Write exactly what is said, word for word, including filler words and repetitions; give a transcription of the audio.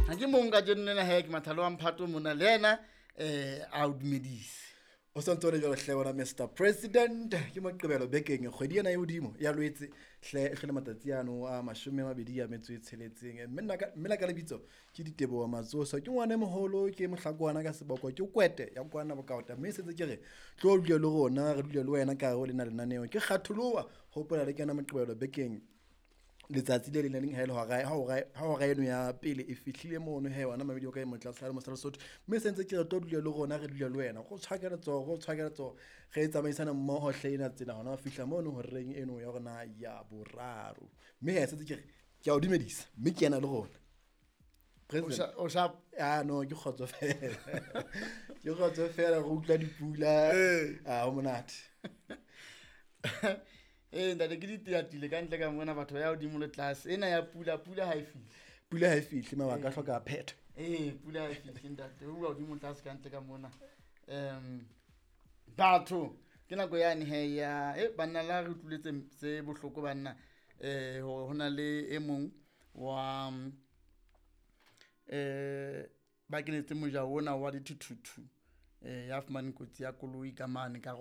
Ha ke mong kajeno lena he, ke Mathalo wa Mphato mona le yena um a o dumedise. O santse o le jwalo hle wena Mister President. Ke Moqebelo bekeng, kgwedi ena e hodimo ya Lwetse hle, e hlole matsatsi ano a mashome a mabedi a metso e tsheletseng. Mme nna ka mme la ka lebitso ke Diteboho Matsoso, ke ngwana e moholo, ke mohlakwana ka seboko, ke kwete ya kwana bokaota. Mme sentse ke re tlo dule le rona, re dule le wena ka hare ho lena lenaneo. Ke kgatholoha hopola le kena Moqebelo bekeng letsatsi le leng le leng ha ele hora ha hora ha hora eno ya pele e fihlile mono he, wena mamedi o ka e motla sa le mosala Sotho. Mme sentse ke re tlo dule le rona, re dule le wena, go tshwake letsoho, go tshwake letsoho, re tsamaisana mmoho hle ena tsela hona ho fihla mono horeng eno ya rona ya boraro. Mme he sentse ke re ke a o dumedisa, mme ke ena le rona President. O sharp? Ah no, ke kgotso fela, ke kgotso fela, re utlwa dipula, ah ho monate. Ee ntate, ke diteatile ka ntle ka mona, batho ba ya hodimo le tlase. Ena ya pula, pula ha e fihle. Pula ha e fihle, mabaka a hloka phetho. Ee, pula ha e fihle ntate, ho bua hodimo tlase ka ntle ka mona. Um batho ke nako yane he ya e banna la re utlwile tse tse bohloko banna, eh hore hona le e mong wa eh ba kenetse moja ona wa dithuthuthu, eh ya fumaneng kotsi ya koloi ka mane ka